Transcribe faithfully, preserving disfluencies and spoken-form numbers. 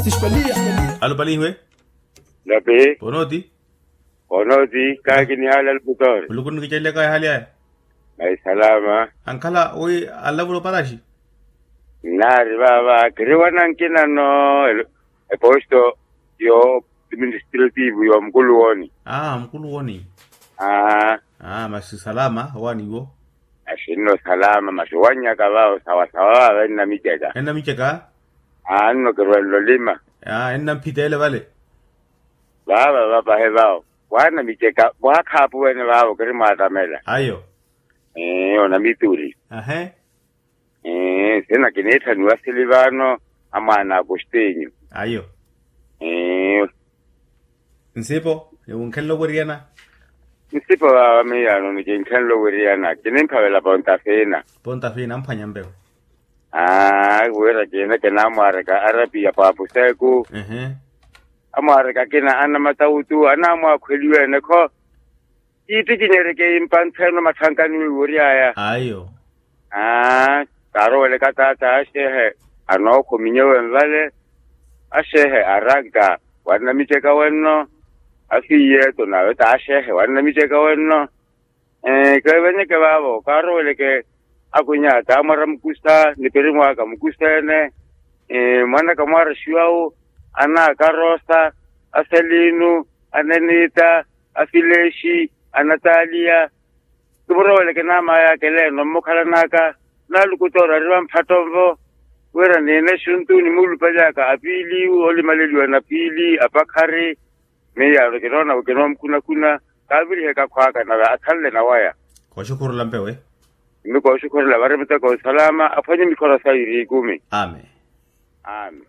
Alo palihiwe. Lapi. Ponooti. Ponooti kaakinihaala alukutoori. Muluku nnikicelelaka ehali aya. Maisalama. Ankhala wi alavula oparaxi. Nnaari vaava kiriwana nkinano eposto yo administrativu yo mukuluwoni. Aa mukuluwoni. Aa. Aa masi salama owaani iwo. Axinno salama masi owannyaka vaavo sawasawa vaava ennamiceka. Ennamiceka. Aa nno kirwenle olima. Aa ennamphiteele vale. Vaava vapahe vaavo waanamiceka vwaakhaapu wene vaavo kirimwaatamela. Ayo. Ee onamituri. Ahe. Ee sina kiniitthaniwa sili vaano amwaana akustinyu. Ayo. Ee. Nsipo niwunkhenle oweriyana. Nsipo vaava miyaano nikinkhenle oweriyana kinimphavela ponta fiina. Ponta fiina amphwanya mpewo. Aa wira kiineke naamwaareka arapiya paapuseku. Ehe. Amwaareka akina anamatawutu anaamwaakhweliwe ene kho. Kiittikinyereke impantheno matthankani wiiwory'aya. Ayo. Aa kaaroweleka taata axeehe anookhuminyewe nvale. Axeehe aranka wannamiceka wenno. Afiiyeto nawe taaxeehe wannamiceka wenno. Keevenyeke vaavo kaaroweleke. Akwinya taamwara mukusa nipiri mwaaka mukusa ene. Mwanaka mwaara xiwawu anaakarosa aseliinu aneniita afilexi anataliya. Kimuroweleke naamaay'aka eleeno mmukhalan'aka. Naalukutoori ari vamphatto-nvo wira niine exuntu nimuulupaly'aka apiili olimaleliwa na piili apakhari. Miyaano kinoona wi kinoomukhuna-khuna kaaviriheke akhw'aka nave akhanle na waya. Kooxukhurula mpewe. Mmi kooxukhurula vari muteko nsalama aphwanye mikhora sayi iriikumi. Amen. Amen.